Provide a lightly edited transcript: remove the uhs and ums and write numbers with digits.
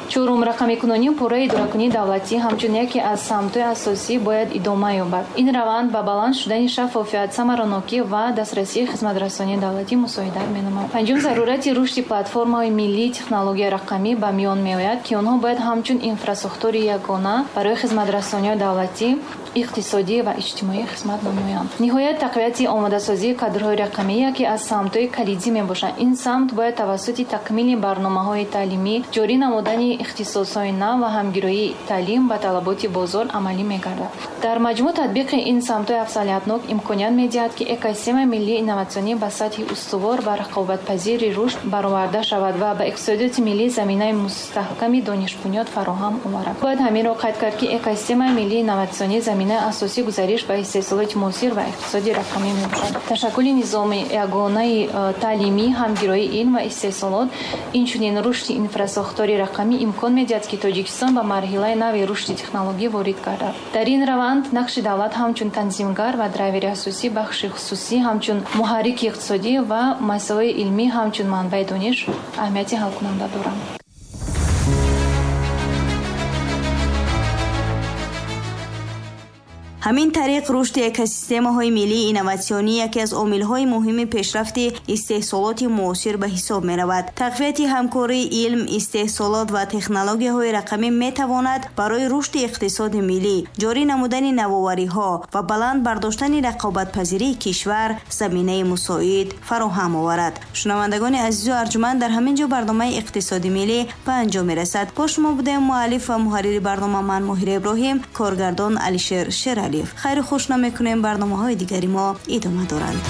Чорум, рақамикунонии пурраи идоракунии давлатӣ ҳамчун яке аз самтҳои асосӣ бояд идома ёбад. Ин раванд ба баланд шудани шаффофият, самаранокӣ ва дастрасии хизматрасонии давлатӣ мусоидат менамояд. Панҷум, зарурати рушди платформаҳои миллии технологияи рақамӣ ба миён меояд, ки онҳо бояд ҳамчун инфрасохтори ягона барои хизматрасониҳои давлатӣ, иқтисодӣ ва иҷтимоӣ хизмат намоянд. Ниҳоят, тақвияти омодасозии кадрҳои рақамӣ яке аз самтҳои калидӣ мебошад. Ин самт бояд тавассути такмили барномаҳои таълимӣ, ҷорӣ намудани ихтисосҳои нав ва ҳамгироии таълим ба талаботи бозор амалӣ мегардад. Дар маҷмӯъ, татбиқи ин самтҳои афзалиятнок имконият медиҳад, ки экосистемаи миллии инноватсионӣ ба сатҳи устувор ва рақобатпазири рушд бароварда шавад ва ба иқтисодиёти миллӣ заминаи мустаҳками донишбунёд фароҳам оварад. Бояд ҳаминро қайд кард, ки экосистемаи миллии инноватсионӣ заминаи асосии гузариш ба истеҳсолоти муосир ва иқтисоди рақамӣ мебошад. Ташаккули низоми ягонаи таълимӣ, ҳамгироии илм ва истеҳсолот, инчунин рушди инфрасохтори рақамӣ имкон медиҳад, ки Тоҷикистон ба марҳилаи нави рушди технологӣ ворид гардад. Дар ин раванд нақши давлат ҳамчун танзимгар ва драйвери асосӣ, бахши хусусӣ ҳамчун муҳаррики иқтисодӣ ва муассисаҳои илмӣ ҳамчун манбаи дониш аҳамияти ҳалкунанда доранд. Ҳамин тариқ, рушди экосистемаҳои миллии инноватсионӣ яке аз омилҳои муҳими пешрафти истеҳсолоти муосир ба ҳисоб меравад. Тақвияти ҳамкории илм, истеҳсолот ва технологияҳои рақамӣ метавонад барои рушди иқтисоди миллӣ, ҷорӣ намудани навовариҳо ва баланд бардоштани рақобатпазирии кишвар заминаи мусоид фароҳам оварад. Шунавандагони азизу арҷуманд, дар ҳамин ҷо барномаи иқтисоди миллӣ ба анҷом мерасад. Бо шумо будем муаллиф ва муҳаррири барнома ман, Моҳира Иброҳим, коргардон Алишер Шералиев. Хайру хуш намекунем, барномаҳои дигари мо идома доранд.